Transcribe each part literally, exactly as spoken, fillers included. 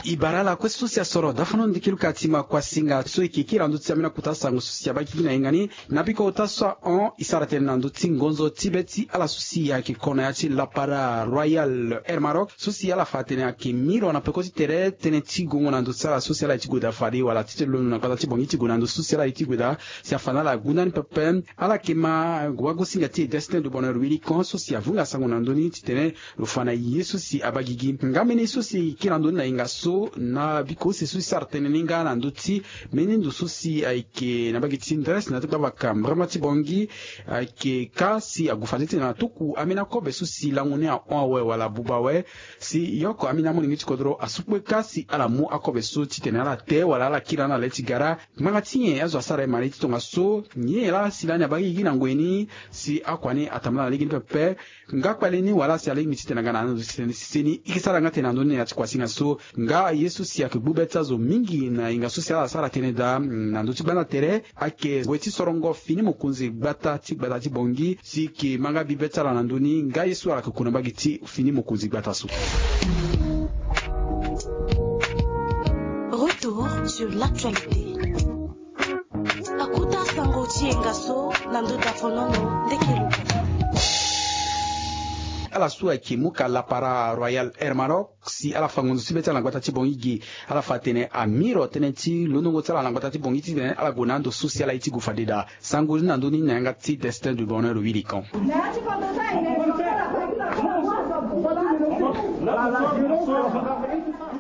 E bara ala kue so si asoro dafano ndiki luka ti ma kuasinga so e ke kiri na ndö ti ambeni akota sango so si abaa gigi na yenga ni. Na biko ota so ahon e sara tënë na ndö ti ngonzo ti be ti ala so si ayeke ko na ya ti lapara Royal Air Maroc so si ala fa atene ayeke miro na peko ti tere tënë ti gongo na ndö ti ala so si ala ye ti gue daa fade wala ti tene londo na gbata ti Bangui ti gue na ndö so si ala ye ti gue daa. Si afa na ala gunda ni pepe. Ala yeke ma wagosinga ti e Destin de Bonheur Wilikan so si avunga sango na ndö ni titene lo fa na ye so si abaa gigi nga mbeni so si e kiri na ndö ni na yenga so na biko use so e sara tënë ni nga na ndö ti mbeni ndo so si ayeke na mbage ti Ndres na ya ti gbavaka mbrama ti Bangui. Ayeke ka si ague fade titene atuku ambeni akobe so si lango ni ahon awe wala abuba awe. Si e oko ambeni amolenge ti kodro asu kue ka si ala mu akobe so titene ala te wala ala kiri na ala le ti gara. Ngbanga ti nyen azo asara ye mara ye ti tongaso? Nyen laa si lani abaa gigi na ngoi ni? Si akua ni atambula na legeni pepe. Nga kpale ni wala si alingbi titene aga na ando titene sese ni e ke sara nga tene na ndö ni na ya ti kuasinga so. Nga ye so si ayeke gbu be ti azo mingi na yenga so si ala sara tënë daa na ndö ti gbanda tere ayeke gue ti sorongo fini mokonzi gbata ti gbata ti Bangui si e ke ma nga bi be ti ala na ndö ni nga ye so ala yeke ku na mbage ti fini mokonzi gbata so. Retour sur l'actualité. Akuta sango ti yenga so na ndo dafonono ndeke luka. Ala so ayeke muka lapara Royal Air Maroc si ala fa ngonzo ti be ti ala na gbata ti Bangui gi. Ala fa atene amiro tënë ti londongo ti ala na gbata ti Bangui titene ala gue na ando so si ala ye ti gue fade daa. Sango ni na ndö ni na yanga ti Destin du Bonheur Wilikan.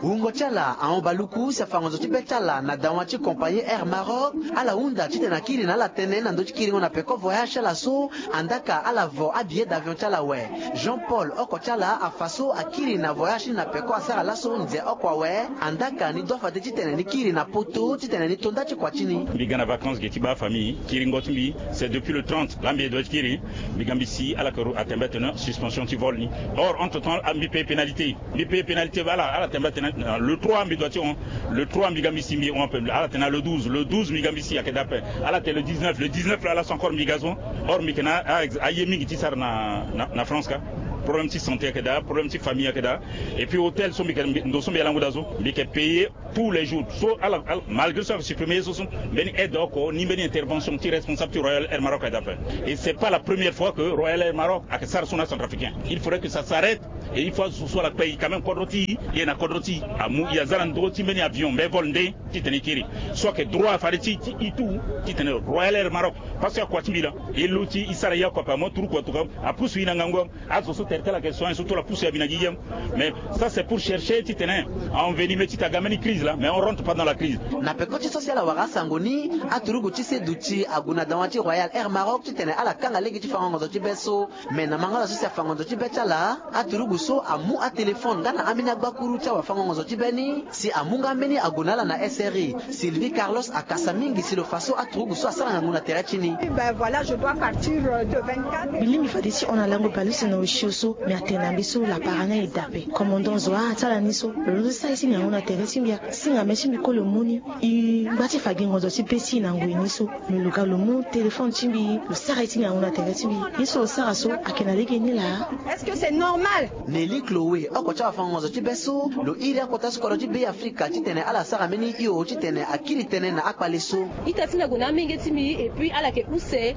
Wungo ti ala ahon baluku si afa ngonzo ti be ti ala na dawa ti compagnie Air Maroc. Ala hunda titene akiri na ala tënë na ndö ti kiringo na peko voyage ti ala so. Andaka ala vo abillet d'avion ti ala awe. Jean Paul oko ti ala afa so akiri na voyage ni na peko asara laso nze oko awe. Andaka ni doit fade titene ni kiri na poto titene ni to nda ti kua ti ni. Mbi ga na vacances ge ti baa famille. Kiringo ti mbi c'est depuis le trente laa mbi ye doit ti kiri. Mbi ga mbi si ala yeke atene mbi atene suspension ti vol ni. Or entre temps mbi paye pénalité. Mbi paye pénalité ba ala ala tene mbi atene le trois mbi doit ti hon. Le trois mbi ga mbi si mbi hon ape ala tene na le douze le douze mbi ga mbi si ayeke daa ape. Ala tene le dix-neuf le dix-neuf laa laso encore mbi ga so. Or mbi yeke na aye mingi ti sara na na France ka. Problème ti santé ayeke daa problème ti famille ayeke daa. Et puis hôtel so mbi yeke ndo so mbi alangu daa so mbi yeke payer tous les jours so ala malgré so ayeke supprimer ye so so. Mbeni aide oko ni mbeni intervention ti responsable ti Royal Air Maroc ayeke daa ape. Et c'est pas la première fois que Royal Air Maroc ayeke sara so na centrafricain. Il faudrait que ça s'arrête. Et il faut azo so ala kpe e quand même kodro ti e e na kodro ti e amu e aza na ndö ti mbeni avion mbeni vol nde titene e kiri. So ayeke droit fade ti e ti e tout titene Royal Air Maroc. Parce que akua ti mbi laa e lo ti e sara ye oko ape amu aturuku atuka apusu e na ngangu. Azo so tere ti ala yeke soin so tout ala pusu e abi na gigi. Mais ça c'est pour chercher titene envenimer titene aga mbeni crise laa mais on rentre pas dans la crise. Na peko ti so si ala wara asango ni aturuku ti seduti ague na dawa ti Royal Air Maroc titene ala kanga lege ti fango ngonzo ti be so. Mais na mango ala so si afa ngonzo ti be ti ala aturuku so amu atelefone nga na ambeni agbakuru ti awafango ngonzo ti be ni. Si amu nga mbeni ague na ala na S R I. Sylvie Carlos akasa mingi si lo fa so aturuku so asara ngangu na tere ti ni. Ben voilà, je dois partir de vingt-quatre. Mbi lingbi fade ti hon na lango baleuse na osio so. Mais atene na mbi so lapara ni aye daa ape. Commandant zo a ti ala ni so lo londo ti sara ye ti ngangu na tere ti mbi a singa me ti mbi kue lo mu ni. E ngba ti fa gi ngonzo ti be ti e na ngoi ni so. Mais lo ga lo mu téléphone ti mbi lo sara ye ti ngangu na tere ti mbi. Ye so lo sara so ayeke na lege ni laa. Est-ce que c'est normal? Nelly Chloé oko ti awafango ngonzo ti be so lo iri akota ti kodro ti Beafrika titene ala sara mbeni hio titene akiri tënë na akpale so. Ita ti mbi ague na amenge ti mbi et puis ala yeke use.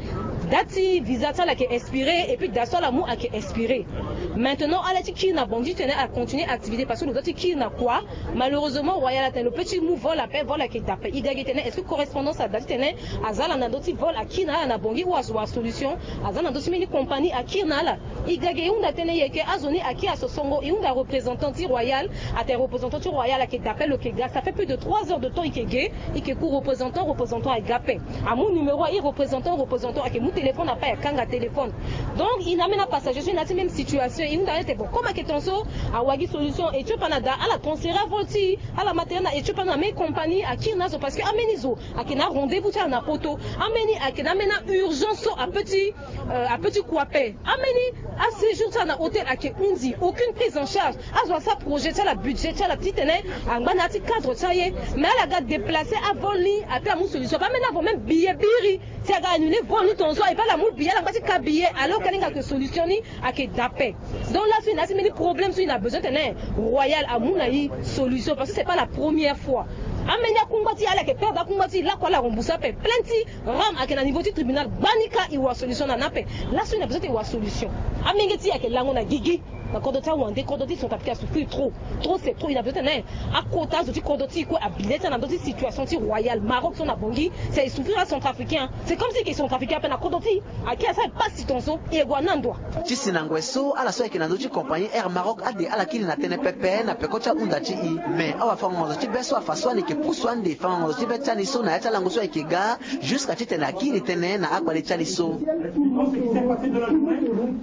Date ti visa ti ala yeke expiré et puis date so ala mu ayeke expiré. Maintenant ala ti kiri na Bangui titene ala continuer activité parce que lo doit ti kiri na kua. Malheureusement Royal atene lo peut ti mu vol ape vol ayeke daa ape. E ga gi tene est-ce que correspondance ada titene aza ala na ndö ti vol akiri na ala na Bangui ou azo wara solution? Aza na ndö ti mbeni compagnie akiri na ala. E ga gi e hunda tënë e yeke azo ni akiri asosongo e hunda représentant ti Royal. Atene représentant ti Royal ayeke daa ape lo yeke ga ça fait plus de trois heures de temps e yeke ge. E yeke ku représentant représentant aga ape. Amu numéro aye représentant représentant ayeke mu téléphone ape ayeke kanga téléphone. Donc e na ambeni apassager so e na ya ti même situation e hunda na ye tene bon comme ayeke tongaso awagi solution e ti opa na daa ala transférer avol ti e. Ala ma tene na e ti opa na ambeni compagnie akiri na azo parce que ambeni zo ayeke na arendez-vous ti ala na poto. Ambeni ayeke na ambeni aurgence so apeut ti apeut ti kua ape. Ambeni aséjour ti ala na hôtel ayeke hundi aucune prise en charge. Azo asara projet ti ala budget ti ala titene angba na ya ti cadre ti aye. Mais ala ga déplacer avol ni ape amu solution ape ambeni avo même billet biri. Ti aga annule vol ni tongaso, e baa ala mu billet, ala ngba ti ka billet, alors ka linga ke solution ni ayeke da ape. Donc laso e na ya ti mbeni problème so e na besoin tene Royal amu na e solution, parce que c'est pas la première fois. Ambeni akungba ti e ala yeke perdre akungba ti e, lakue ala rembourse ape. Plainte ti Ram ayeke na niveau ti tribunal gbani, ka e wara solution na ni ape. Laso e na besoin ti e wara solution. Amenge ti e ayeke lango na gigi. Na kodro ti awande, kodro ti centrafricain asouffrir trop. Trop c'est trop, e na besoin tene akota azo ti kodro ti e kue abilet na ndö ti situation ti Royal Maroc so na Bangui. C'est e souffrir acentrafricain. C'est comme si e yeke centrafricain ape na kodro ti e. Ayeke asara e pasi tongaso, e gue na ndo wa. Ti si na ngoi so ala so ayeke na ndö ti compagnie Air Maroc ade ala kiri na tënë pepe na peko ti ahunda ti e. Mais awafango-ngonzo ti be so afa so ala yeke pusu ande fango-ngonzo ti be ti ani so na ya ti alango so ayeke ga, jusqu'à titene akiri tënë na akpale ti ali so.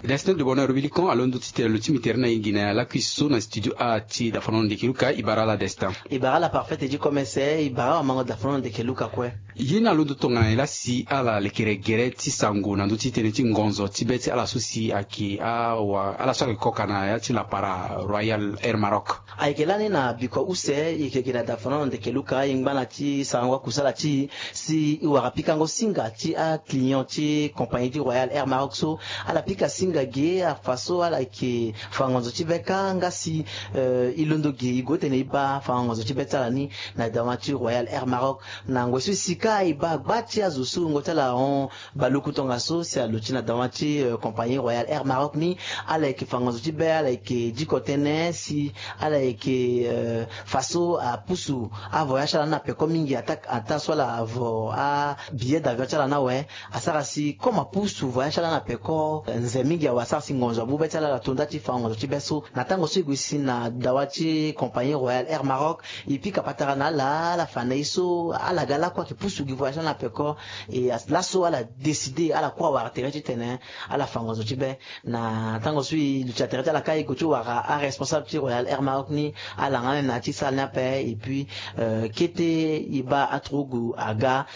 Destin de Bonheur Bilikon alondo titene lo ti mi tere na e gi na lakui so na studio a ti Dafano Ndeke Luka. E bara ala Destin. E bara ala Parfait Eddy Komese, e bara awamango Dafano Ndeke Luka kue. Ye ni alondo tongana nyen laa si ala lekere gere ti sango na ndö ti tënë ti ngonzo ti be ti ala so si ayeke awa ala so ayeke koka na ya ti lapara Royal Air Maroc? Ayeke lani na bikua use e yeke gi na Dafano Ndeke Luka, e ngba na ti sarango akusala ti e si e wara pikango singa ti aclient ti compagnie ti Royal Air Maroc so. Ala pika singa ge afa so ala yeke fa ngonzo ti be kâ, nga si eh, e londo ge e gue titene e baa fa ngonzo ti be ti ala ni na dawa ti Royal Air Maroc. Na ngoi so e si kâ e baa gba ti azo so wungo ti ala ahon baluku tongaso si aluti na dawa ti eh, compagnie Royal Air Maroc ni. Ala yeke fa ngonzo ti be, ala yeke diko tënë si ala yeke eh, fa so apusu avoyage ti ala ni na peko mingi attaque attaque so ala avo abillet d'avion ti ala ni awe. Asara si comme apusu voyage ti ala ni na peko, nze mingi awe, asara si ngonzo amu be ti ala, ala to nda ti fa ngonzo ti be so. Na tango so e gue si na dawa ti compagnie Royal Air Maroc, e pika patara na ala, ala fa na e so ala ga lakue ayeke pusu gi voyage ti ala na peko. E laso ala décide, ala kue awara tere titene ala fa ngonzo ti be. Na tango so e luti na tere ti ala kâ, e gue ti wara aresponsable ti Royal Air Maroc ni, ala nga même na ya ti salle ni ape. Et puis eh, kete e baa aturugu aga.